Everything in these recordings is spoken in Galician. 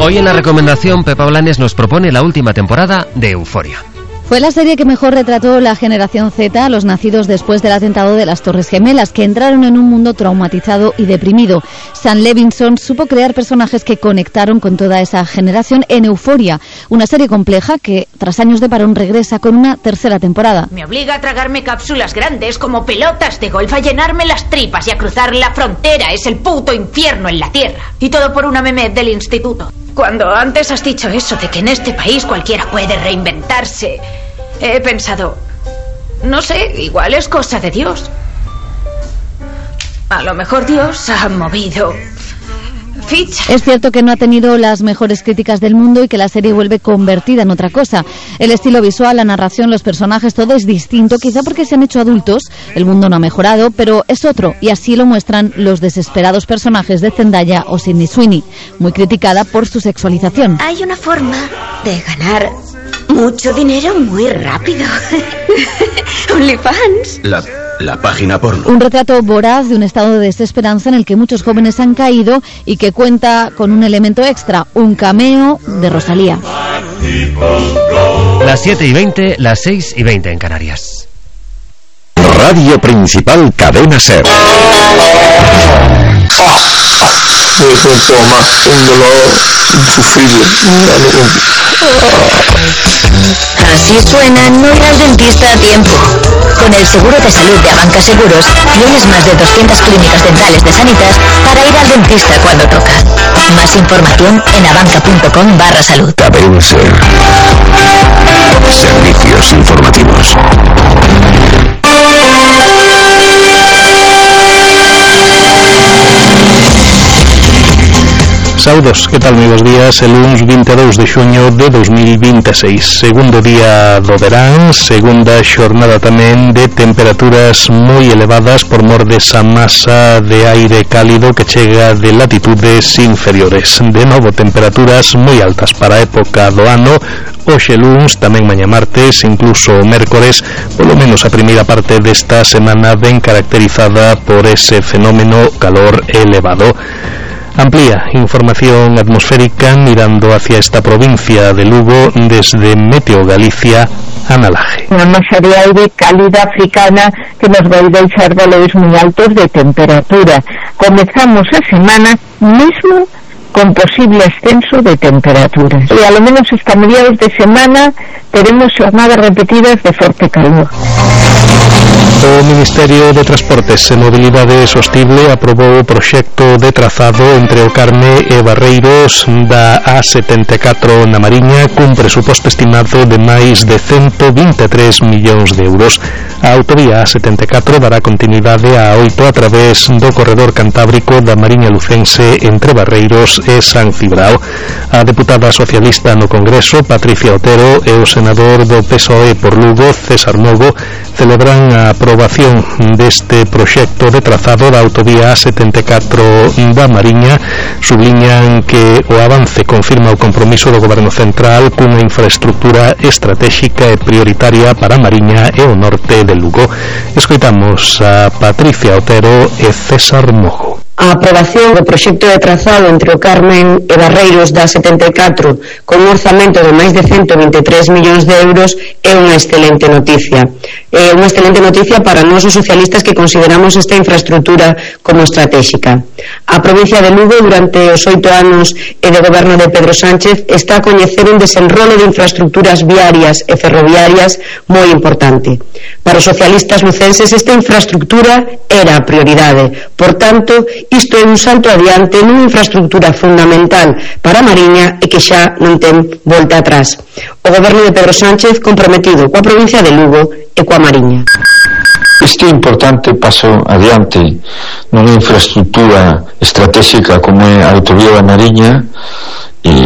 Hoy en la recomendación, Pepa Blanes nos propone la última temporada de Euforia. Fue la serie que mejor retrató la generación Z, los nacidos después del atentado de las Torres Gemelas, que entraron en un mundo traumatizado y deprimido. Sam Levinson supo crear personajes que conectaron con toda esa generación en Euforia, una serie compleja que, tras años de parón, regresa con una tercera temporada. Me obliga a tragarme cápsulas grandes como pelotas de golf, a llenarme las tripas y a cruzar la frontera. Es el puto infierno en la tierra. Y todo por una meme del instituto. Cuando antes has dicho eso de que en este país cualquiera puede reinventarse, he pensado, no sé, igual es cosa de Dios. A lo mejor Dios ha movido ficha. Es cierto que no ha tenido las mejores críticas del mundo y que la serie vuelve convertida en otra cosa. El estilo visual, la narración, los personajes, todo es distinto, quizá porque se han hecho adultos, el mundo no ha mejorado, pero es otro, y así lo muestran los desesperados personajes de Zendaya o Sydney Sweeney, muy criticada por su sexualización. Hay una forma de ganar mucho dinero muy rápido. OnlyFans. La página porno. Un retrato voraz de un estado de desesperanza en el que muchos jóvenes han caído y que cuenta con un elemento extra, un cameo de Rosalía. Las 7:20, las 6:20 en Canarias. Radio Principal Cadena SER. Me siento más un dolor insufrible. Así suena no ir al dentista a tiempo. Con el seguro de salud de Abanca Seguros tienes más de 200 clínicas dentales de Sanitas para ir al dentista cuando toca. Más información en abanca.com/salud. Cadena SER. Servicios informativos. Saudos, que tal, moi bons días? El luns 22 de xuño de 2026, segundo día do verán, segunda xornada tamén de temperaturas moi elevadas por mor desa masa de aire cálido que chega de latitudes inferiores. De novo, temperaturas moi altas para a época do ano, hoxe luns, tamén mañá martes, incluso mércores, polo menos a primeira parte desta semana ben caracterizada por ese fenómeno calor elevado. Amplía información atmosférica mirando hacia esta provincia de Lugo desde Meteo Galicia, Ana Laje. Una masa de aire cálida africana que nos va a deixar valores muy altos de temperatura. Comenzamos la semana mismo con posible ascenso de temperaturas. Y a lo menos hasta mediados de semana teremos jornadas repetidas de fuerte calor. O Ministerio de Transportes e Mobilidade Sostible aprobou o proxecto de trazado entre o Carme e Barreiros da A74 na Mariña cun presuposto estimado de máis de 123 millóns de euros. A autovía A74 dará continuidade a 8 a través do corredor cantábrico da Mariña Lucense entre Barreiros e San Cibrao. A deputada socialista no Congreso, Patricia Otero, e o senador do PSOE por Lugo, César Mogo, celebran a aprobación deste proxecto de trazado da autovía A74 da Mariña. Subliñan que o avance confirma o compromiso do Goberno Central cunha infraestructura estratégica e prioritaria para a Mariña e o norte de Lugo. Escoitamos a Patricia Otero e César Mogo. A aprobación do proxecto de trazado entre o Carmen e Barreiros da 74 con un orzamento de máis de 123 millóns de euros é unha excelente noticia. É unha excelente noticia para nós os socialistas que consideramos esta infraestructura como estratégica. A provincia de Lugo durante os 8 anos e de goberno de Pedro Sánchez está a coñecer un desenrolo de infraestructuras viarias e ferroviarias moi importante. Para os socialistas lucenses esta infraestructura era a prioridade. Por tanto, isto é un salto adiante nunha infraestructura fundamental para a Mariña e que xa non ten volta atrás. O goberno de Pedro Sánchez comprometido coa provincia de Lugo e coa Mariña. Este importante paso adiante nunha infraestructura estratégica como é a autovía da Mariña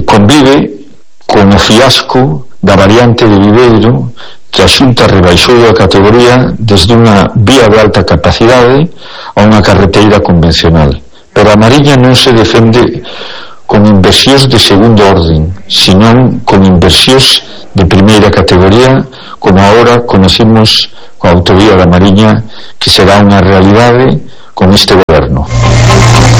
convive con o fiasco da variante de Viveiro que a Xunta rebaixou a categoría desde unha vía de alta capacidade a unha carreteira convencional. Pero a Mariña non se defende con inversións de segundo orden, senón con inversións de primeira categoría, como agora conocemos coa autovía da Mariña, que será unha realidade con este goberno.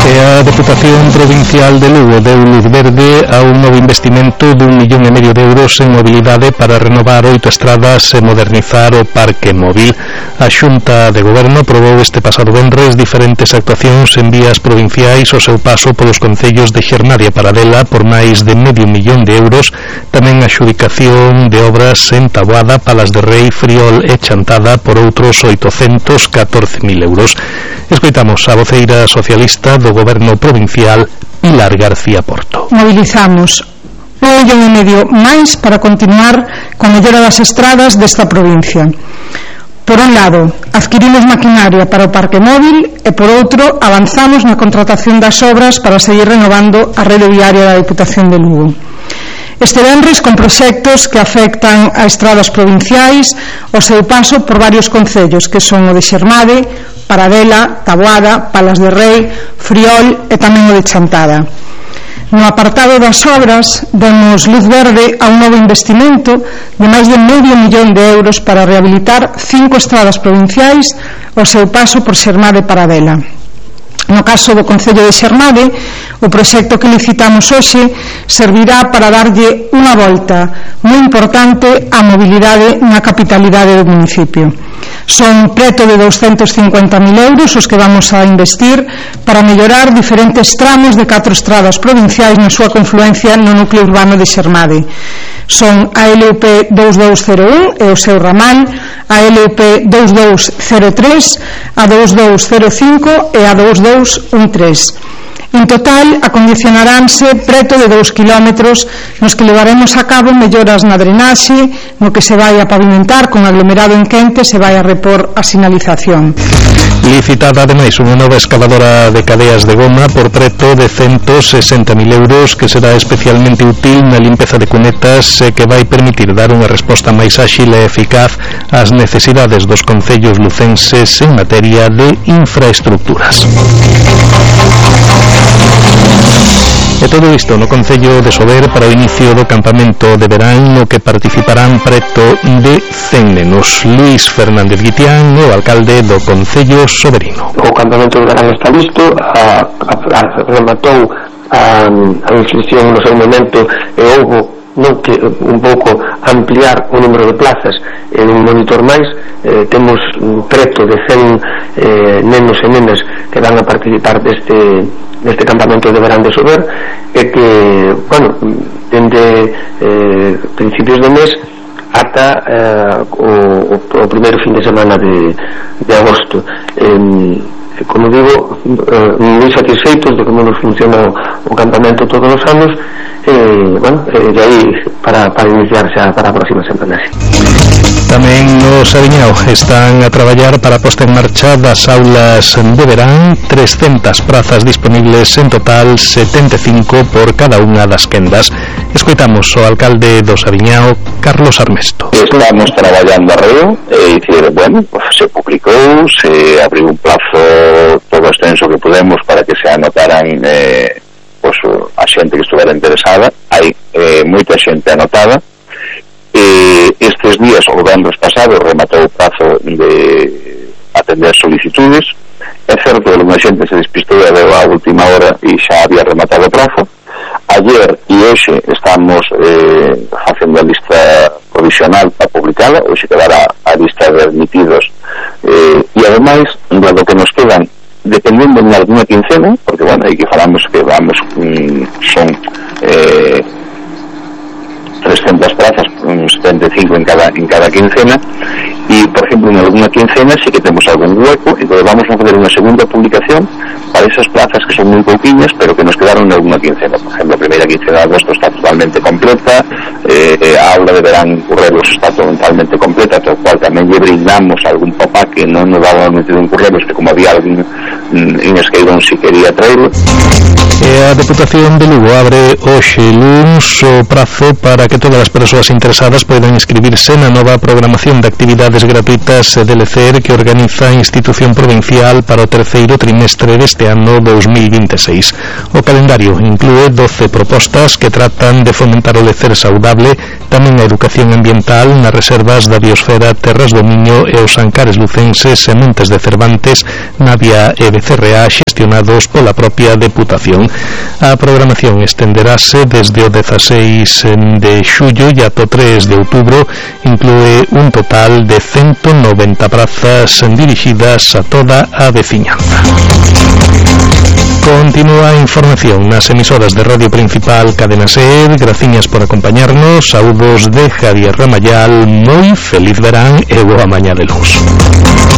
A Deputación Provincial de Lugo deu luz verde a un novo investimento de 1,5 millón de euros en mobilidade para renovar 8 estradas e modernizar o parque móvil. A Xunta de Goberno aprobou este pasado venres diferentes actuacións en vías provinciais ao seu paso polos concellos de Xermade e Paradela por máis de 0,5 millón de euros, tamén a adxudicación de obras en Taboada, Palas de Rei, Friol e Chantada por outros 814.000 euros. Escoitamos a voceira socialista do Goberno provincial, Pilar García Porto. Mobilizamos 1,5 millón máis para continuar con mellora das estradas desta provincia. Por un lado, adquirimos maquinaria para o parque móvil e por outro, avanzamos na contratación das obras para seguir renovando a rede viaria da Deputación de Lugo. Este venres con proxectos que afectan a estradas provinciais o seu paso por varios concellos que son o de Xermade, Paradela, Taboada, Palas de Rei, Friol e tamén o de Chantada. No apartado das obras demos luz verde a un novo investimento de máis de 0,5 millón de euros para rehabilitar 5 estradas provinciais o seu paso por Xermade e Paradela. No caso do Concello de Xermade, o proxecto que licitamos hoxe servirá para darlle unha volta moi importante á mobilidade na capitalidade do municipio. Son preto de 250.000 euros os que vamos a investir para mellorar diferentes tramos de 4 estradas provinciais na súa confluencia no núcleo urbano de Xermade. Son a LUP 2201 e o seu ramal, a LUP 2203, a 2205 e a 2213. En total, acondicionaránse preto de 2 kilómetros nos que levaremos a cabo melloras na drenaxe, no que se vai a pavimentar con aglomerado en quente, se vai a repor a sinalización. Licitada ademais unha nova excavadora de cadeas de goma por preto de 160.000 euros que será especialmente útil na limpeza de cunetas e que vai permitir dar unha resposta máis áxil e eficaz ás necesidades dos concellos lucenses en materia de infraestructuras. E todo isto no Concello de Sober para o inicio do campamento de verán no que participarán preto de 100 nenos. Luís Fernández Guitián, o alcalde do Concello Soberino. O campamento de verán está listo, rematou a inscripción no seu momento e houve non que un pouco ampliar o número de plazas en un monitor máis. Temos preto de 100 nenos e nenas que van a participar deste campamento de verán de Sober e que, bueno, dende principios do mes ata o primeiro fin de semana de agosto. Como digo, moi satisfeitos de como nos funciona o campamento todos os anos e aí para iniciar xa para a próxima semana. Tamén no Sabiñao están a traballar para a posta en marcha das aulas de verán, 300 prazas disponibles en total, 75 por cada unha das quendas. Escoitamos o alcalde do Sabiñao, Carlos Armesto. Estamos traballando arreo e dicir, bueno, pues se publicou, se abriu un plazo todo extenso que podemos para que se anotaran pues, a xente que estuvera interesada. Hai moita xente anotada. Estes días, o venres pasado, rematou o prazo de atender solicitudes. É certo que unha xente se despistou e deu a última hora e xa había rematado o prazo. Ayer e hoxe estamos facendo a lista provisional para publicala, hoxe quedará a lista de admitidos e ademais, do que nos quedan, dependendo de alguna quincena, porque, bueno, aí que falamos que vamos, son 300 plazas, 75 en cada quincena, e, por exemplo, en alguna quincena sí que temos algún hueco, entonces vamos a fazer unha segunda publicación para esas plazas que son moi pouquiñas, pero que nos quedaron en alguna quincena. Por exemplo, a primeira quincena de agosto está totalmente completa, a aula de verán en Currelos está totalmente completa, todo cual tamén lle brindamos algún papá que non nos daba metido en Currelos, que como había alguén en Esqueirón si quería traerlo. A Deputación de Lugo abre hoxe luns o prazo para que todas as persoas interesadas poidan inscribirse na nova programación de actividades gratuitas de LECER que organiza a institución provincial para o terceiro trimestre deste ano 2026. O calendario inclúe 12 propostas que tratan de fomentar o LECER saudable, tamén a educación ambiental nas reservas da biosfera, terras do Miño e os Ancares lucenses e Montes de Cervantes, Navia e BCRA xestionados pola propia Deputación. A programación estenderase desde o 16 de xullo e ata o 3 de outubro, inclúe un total de 190 prazas dirixidas a toda a veciñanza. Continúa a información nas emisoras de Radio Principal Cadena SER. Graciñas por acompañarnos. Saúdos de Javier Ramayal. Moi feliz verán e boa mañá de luz.